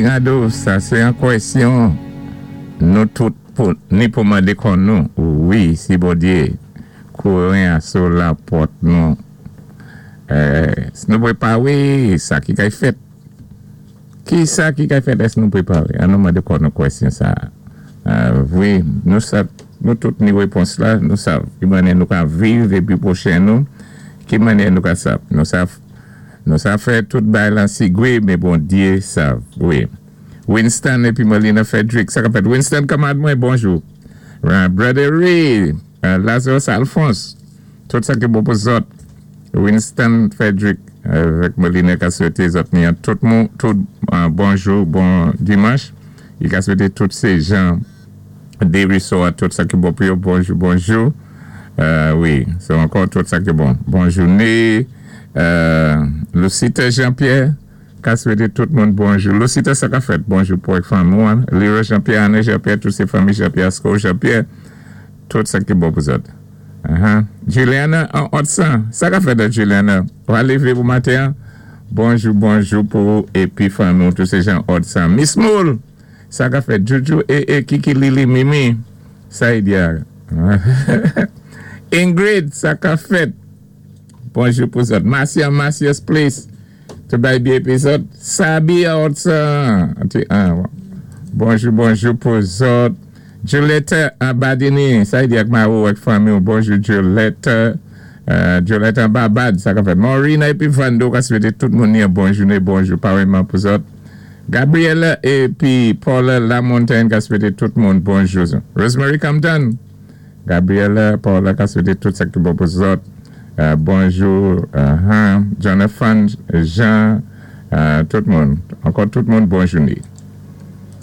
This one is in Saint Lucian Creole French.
Tirado, sa sé an kwèsyon nou tout pou ni pou mandé kò nou wi si Bondyé kouren a sou lapòt nou èske nou pwépawé sa ki kay fèt kisa ki kay fèt èske nou pwépawé an nou mandé kò nou kwèsyon sa vwé nou sa nou tout ni wépons la nou sav ki mannyè nou ka viv épi pwochen nou ki mannyè nou ka sa nou sa. Nou sa fè tout bay lan sigwe men Bondye sav wi. Winston epi Molina Frederick sa kap fèt Winston kanmarad mwen bonjou Brother Ray Lazarus Alphonse tout sa ki bon pou zòt Winston Frederick avèk Molina ka swete zòt ni an tout mou tout bonjou bon dimanch li ka swete tout se jan Desruisseaux a tout sa ki bon pou yo bonjou bonjou wi se ankò tout sa ki bon bon joune. Lucita Jean Pierre ka swete tout moun bonjou. Lucita sa ka fèt bonjou pou ak fanmi ou an. Leroy Jean Pierre, Anne Jean Pierre, tout se fanmi Jean Pierre, Asko Jean Pierre, tout sa ki bon pou zòt. Juliana an Otsan, sa ka fèt Juliana? Ou a leve pou maten an? Bonjou bonjou pou ou epi fanmi ou tout se Jean Otsan. Miss Moule, sa ka fèt? Juju e e Kiki Lili Mimi, sa y di a? Ingrid, sa ka fèt? Bonjou pou zòt. Marcia Marcia's Place te bay byen epizòd. Sabi Hudson. Bonjou bonjou pou zòt. Juliette Badini. Sa y di ak mari ou ak fanmi ou. Bonjou Juliette. Juliette an Babad. Sa ka fèt. Maureen epi Vando ka swete tout moun yon bon jounen. Bonjou pareman pou zòt. Gabriella epi Paula Lamontagne ka swete tout moun bonjou. Rosemary Compton. Gabriella Paula ka swete tout sa ki bon pou zòt bonjou Jonathan Jean tout moun ankò tout moun bon joune.